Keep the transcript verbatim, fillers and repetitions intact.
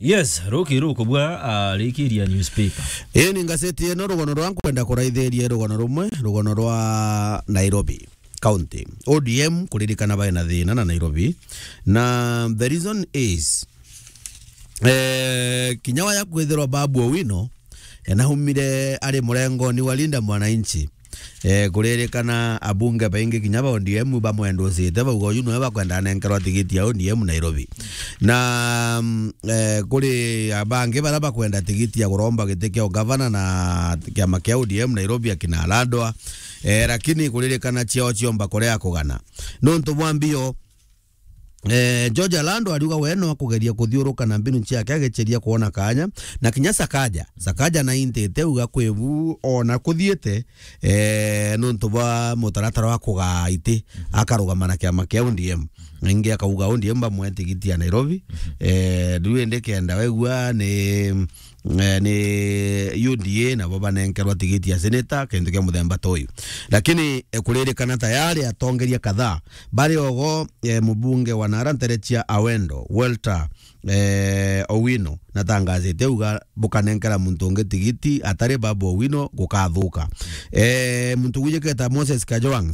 Yes, ruki ruku bwa arikiria newspaper. Ii ni ngaceti ino, rugono rwa nkwenda kuraithiria, rugono rumwe, rugono rwa Nairobi County. O D M kuririkana baina thina na Nairobi. Na the reason is, eh, kinya waya kwithirwa Babu Owino, enaumire ari murengoni wa Linda Mwananchi. Eh, kuririkana abunge baingi kinya ba O D M bamwendusite, bauga uyu niwe bakwenda anenkerwa tigiti ya O D M Nairobi. Na, mm, eh, kuri abangi bara bakwenda tigiti ya kuromba giti kia ugavana na kiama kia O D M Nairobi, akina Aladwa. Eh, lakini kuririkana ciao ciomba kuria kugana. Nontu bwa mbio, Eh, George Alando ariuga we no akugeria kuthiuruka na mbinu ciake agiceria kuona kanya, na kinya Sakaja, Sakaja naintite uga kwi bu ona kuthiite, eh, nontu bwa mutaratara wa kugaa iti, akarugama na kiama kia O D M. Ingi akauga O D M bamwe tigiti ya Nairobi, eh, riu indi kenda wegua ni eh, ni U D A, nabo banenkerwa tigiti ya seneta, kintu kia muthemba ta uyu. Lakini, eh, kuririkana tayari atongeria kadhaa, bari ogo, eh, mubunge wa Nara Nterecia Awendo, Walter, eh, Owino, natangazite uga bukanenkera muntu ungi tigiti atari Babu Owino gukathuka. Eh, muntu wijiketa Moses Kajwang',